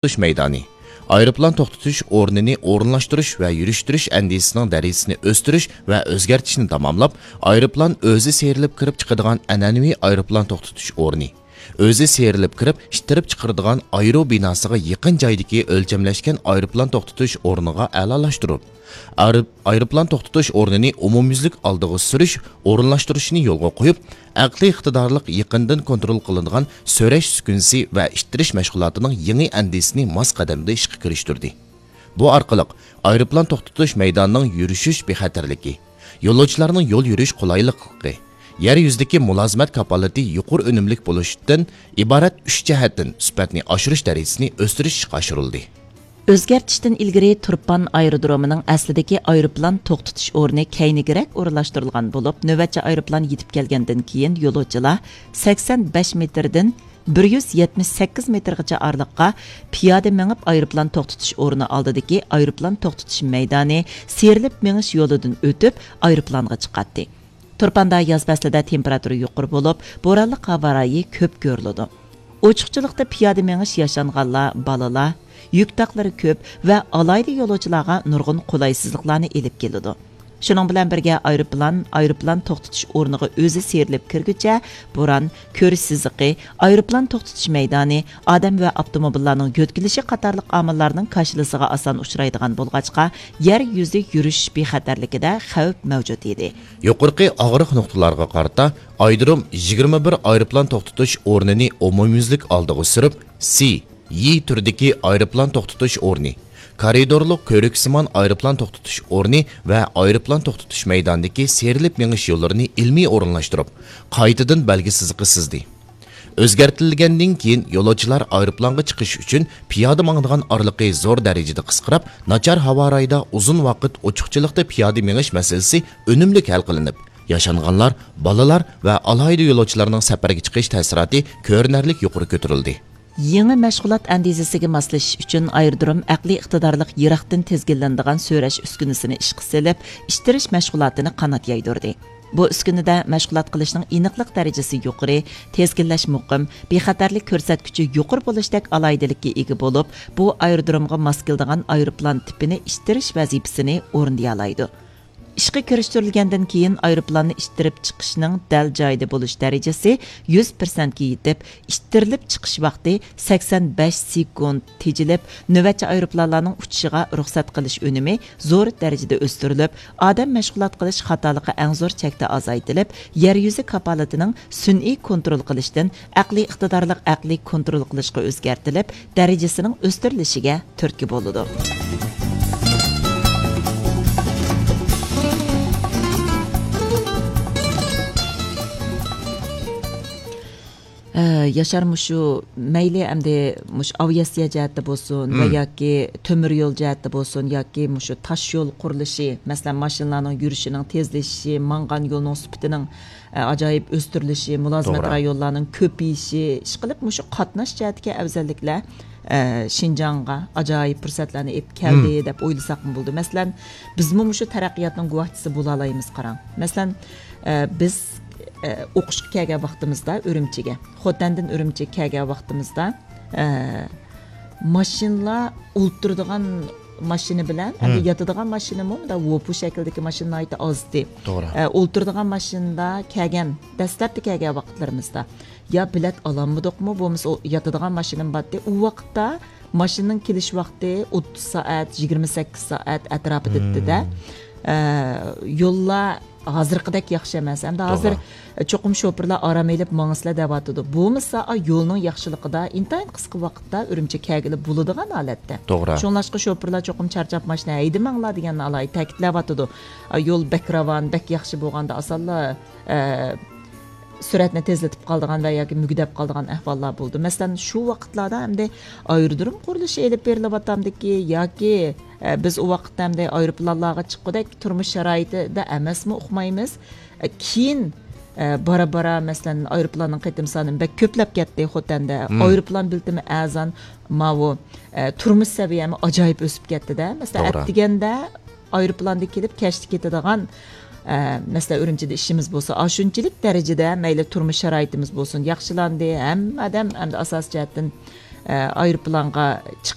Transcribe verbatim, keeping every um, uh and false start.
توختىتىش مەيدانى، ئايروپىلان توختىتىش ئورنىنى ئورۇنلاشتۇرۇش ۋە يۈرۈشتۈرۈش ئەندىزىسىنىڭ دەرىجىسىنى ئۆستۈرۈش ۋە ئۆزگەرتىشنى تاماملاپ، ئايروپىلان ئۆزى سىيرىلىپ كىرىپ چىقىدىغان ئەنئەنىۋى ئايروپىلان توختىتىش ئورنى، ئۆزى سىيرىلىپ كىرىپ ئىتتىرىپ چىقىرىدىغان ئايرو بىناسىغا يېقىن جايدىكى ئۆلچەملەشكەن ئايروپىلان توختىتىش ئورنىغا ئەلالاشتۇرۇپ، ئايرو-، ئايروپىلان توختىتىش ئورنىنى ئومۇميۈزلۈك ئالدىغا سۈرۈش، ئورۇنلاشتۇرۇشنى يولغا قويۇپ، ئەقلىي ئىقتىدارلىق يېقىندىن كونترول قىلىنىدىغان سۆرەش ئۈسكۈنىسى ۋە ئىتتىرىش مەشغۇلاتىنىڭ يېڭى ئەندىزىسىنى ماس قەدەمدە ئىشقا كىرىشتۈردى. بۇ ئارقىلىق ئايروپىلان توختىتىش مەيدانىنىڭ يۈرۈشۈش بىخەتەرلىكى، يولۇچىلارنىڭ يول يۈرۈش قولايلىقلىقى، يەر يۈزىدىكى مۇلازىمەت كاپالىتى يۇقىرى ئۈنۈملۈك بولۇشتىن ئىبارەت ئۈچ جەھەتتىن سۈپەتنى ئاشۇرۇش دەرىجىسىنى ئۆستۈرۈش ئىشقا ئاشۇرۇلدى. ئۆزگەرتىشتىن ئىلگىرى تۇرپان ئايرودرومىنىڭ ئەسلىدىكى ئايروپىلان توختىتىش ئورنى كەينىگىرەك ئورۇنلاشتۇرۇلغان بولۇپ، نۆۋەتچى ئايروپىلان يېتىپ كەلگەندىن كېيىن، يولۇچىلار سەكسەن بەش مېتىردىن بىر يۈز يەتمىش سەككىز مېتىرغىچە ئارىلىققا پىيادە مېڭىپ، ئايروپىلان توختىتىش ئورنى ئالدىدىكى ئايروپىلان توختىتىش مەيدانى سىيرىلىپ مېڭىش يولىدىن ئۆتۈپ، ئايروپىلانغا چىقاتتى. تۇرپاندا ياز پەسلىدە تېمپېراتۇرا يۇقىرى بولۇپ، بورانلىق ھاۋا رايى كۆپ كۆرۈلىدۇ. ئوچۇقچىلىقتا پىيادە مېڭىش ياشانغانلار، بالىلار، يۈك تاقلىرى كۆپ ۋە ئالاھىدە يولۇچىلارغا نۇرغۇن قولايسىزلىقلارنى ئېلىپ كېلىدۇ. شۇنىڭ بىلەن بىرگە، ئايروپىلان ئايروپىلان توختىتىش ئورنىغا ئۆزى سىيرىلىپ كىرگۈچە، بوران، كۆرۈش سىزىقى، ئايروپىلان توختىتىش مەيدانى، ئادەم ۋە ئاپتوموبىللارنىڭ يۆتكىلىشى قاتارلىق ئامىللارنىڭ كاشىلىسىغا ئاسان ئۇچرايدىغان بولغاچقا، يەر يۈزى يۈرۈش بىخەتەرلىكىدە خەۋپ مەۋجۇت ئىدى. يۇقىرىقى ئاغرىق نۇقتىلارغا قارىتا ئايرودروم يىگىرمە بىر ئايروپىلان توختىتىش ئورنىنى ئومۇميۈزلۈك ئالدىغا سۈرۈپ، سى، يى تۈرىدىكى ئايروپىلان توختىتىش ئورنى، كارىدورلۇق كۆۋرۈكسىمان ئايروپىلان توختىتىش ئورنى ۋە ئايروپىلان توختىتىش مەيدانىدىكى سىيرىلىپ مېڭىش يوللىرىنى ئىلمىي ئورۇنلاشتۇرۇپ، قايتىدىن بەلگە سىزىقى سىزدى. ئۆزگەرتىلگەندىن كېيىن، يولۇچىلار ئايروپىلانغا چىقىش ئۈچۈن پىيادە ماڭىدىغان ئارىلىقى زور دەرىجىدە قىسقىراپ، ناچار ھاۋا رايىدا ئۇزۇن ۋاقىت ئوچۇقچىلىقتا پىيادە مېڭىش مەسىلىسى ئۈنۈملۈك ھەل قىلىنىپ، ياشانغانلار، بالىلار ۋە ئالاھىدە يولۇچىلارنىڭ سەپەرگە چىقىش تەسىراتى كۆرۈنەرلىك يۇقىرى كۆتۈرۈلدى. يېڭى مەشغۇلات ئەندىزىسىگە ماسلىشىش ئۈچۈن، ئايرودروم ئەقلىي ئىقتىدارلىق يىراقتىن تىزگىنلىنىدىغان سۆرەش ئۈسكۈنىسىنى ئىشقا سېلىپ، ئىتتىرىش مەشغۇلاتىنى قانات يايدۇردى. بۇ ئۈسكۈنىدە مەشغۇلات قىلىشنىڭ ئېنىقلىق دەرىجىسى يۇقىرى، تىزگىنلەش مۇقىم، بىخەتەرلىك كۆرسەتكۈچى يۇقىرى بولۇشتەك ئالاھىدىلىككە ئىگە بولۇپ، بۇ ئايرودرومغا ماس كېلىدىغان ئايروپىلان تىپىنى ئىتتىرىش ۋەزىپىسىنى ئورۇندىيالايدۇ. ئىشقا كىرىشتۈرۈلگەندىن كېيىن، ئايروپىلاننى ئىتتىرىپ چىقىشنىڭ دەل جايىدا بولۇش دەرىجىسى يۈز پىرسەنتكە يېتىپ، ئىتتىرىلىپ چىقىش ۋاقتى سەكسەن بەش سېكۇنت تېجىلىپ، نۆۋەتچى ئايروپىلانلارنىڭ ئۇچۇشىغا رۇخسەت قىلىش ئۈنۈمى زور دەرىجىدە ئۆستۈرۈلۈپ، ئادەم مەشغۇلات قىلىش خاتالىقى ئەڭ زور چەكتە ئازايتىلىپ، يەر يۈزى كاپالىتىنىڭ سۈنئىي كونترول قىلىشتىن ئەقلىي ئىقتىدارلىق ئەقلىي كونترول قىلىشقا ئۆزگەرتىلىپ، دەرىجىسىنىڭ ئۆستۈرۈلۈشىگە تۈرتكە بولىدۇ. ئە، ياشار، مۇشۇ مەيلى ئەمدى مۇشۇ ئاۋىئاتسىيە جەھەتتە بولسۇن ۋە ياكى تۆمۈر يول جەھەتتە بولسۇن ياكى مۇشۇ تاش يول قۇرۇلۇشى، مەسىلەن، ماشىنىلارنىڭ يۈرۈشىنىڭ تېزلىشىشى، ماڭغان يولنىڭ سۈپىتىنىڭ، ئە، ئاجايىپ ئۆستۈرۈلۈشى، مۇلازىمەت توغرا. رايونلارنىڭ كۆپىيىشى، ئىشقىلىپ مۇشۇ قاتناش جەھەتتىكى ئەۋزەللىكلەر، ئە، شىنجاڭغا ئاجايىپ پۇرسەتلەرنى ئېلىپ كەلدى دەپ ئويلىساقمۇ بولىدۇ. مەسىلەن، بىزمۇ مۇشۇ تەرەققىياتنىڭ گۇۋاھچىسى بولالايمىز، قاراڭ. مەسىلەن، ئە، بىز، ئە، ئوقۇشقا كەلگەن ۋاقتىمىزدا ئۈرۈمچىگە، خوتەندىن ئۈرۈمچىگە كەلگەن ۋاقتىمىزدا، ئە، ماشىنىلار ئولتۇرىدىغان ماشىنا بىلەن، ئەمدى ياتىدىغان ماشىنىمۇ مۇنداق ۋوپۇ شەكلىدىكى ماشىنا ناھايىتى ئازدى. توغرا. ئە، ئولتۇرىدىغان ماشىنىدا كەلگەن، دەسلەپتە كەلگەن ۋاقىتلىرىمىزدا يا بىلەت ئالالمىدۇقمۇ، بولمىسا ئۇ ياتىدىغان ماشىنىمۇ بارتتى. ئۇ ۋاقىتتا ماشىنىنىڭ كېلىش ۋاقتى ئوتتۇز سائەت، يىگىرمە سەككىز سائەت ئەتراپىدا ئىدى-دە. ئە، يوللار ھازىرقىدەك ياخشى ئەمەس. ئەمدى ھازىر توغرا. چوقۇم شوپۇرلار ئارام ئېلىپ ماڭسىلەر دەۋاتىدۇ. بولمىسا، ئا، يولنىڭ ياخشىلىقىدا ئىنتايىن قىسقا ۋاقىتتا ئۈرۈمچى كەلگىلى بولىدىغان ھالەتتە. توغرا. شۇڭلاشقا شوپۇرلار چوقۇم چارچاپ ماشىنا ھەيدىمەڭلار دېگەننى ئالاھىدە تەكىتلەۋاتىدۇ. ئا، يول بەك راۋان، بەك ياخشى بولغاندا ئاسانلا، ئە، سۈرئەتنى تېزلىتىپ قالىدىغان ۋە ياكى مۈگدەپ قالىدىغان ئەھۋاللار بولىدۇ. مەسىلەن، شۇ ۋاقىتلاردا ئەمدى ئايرودروم قۇرۇلۇشى ئېلىپ بېرىلىۋاتامدىكى ياكى، ئە، بىز ئۇ ۋاقىتتا ئەمدى ئايروپىلانلارغا چىققۇدەك تۇرمۇش شارائىتىدا ئەمەسمۇ ئۇقمايمىز. ئە، كېيىن، ئە، بارا-بارا، مەسىلەن، ئايروپىلاننىڭ قېتىم سانى بەك كۆپلەپ كەتتى خوتەندە. ئايروپىلان بېلىتىمۇ ئەرزان، ماۋۇ، ئە، تۇرمۇش سەۋىيەمۇ ئاجايىپ ئۆسۈپ كەتتى-دە. مەسىلەن، توغرا. ئەتىگەندە ئايروپىلاندا كېلىپ، كەچتە كېتىدىغان، ئە، مەسىلەن، ئۈرۈمچىدە ئىشىمىز بولسا، ئاشۇنچىلىك دەرىجىدە مەيلى تۇرمۇش شارائىتىمىز بولسۇن، ياخشىلاندى. ھەممە ئادەم ئەمدى ئاساسىي جەھەتتىن، ئايروپىلانغا چىق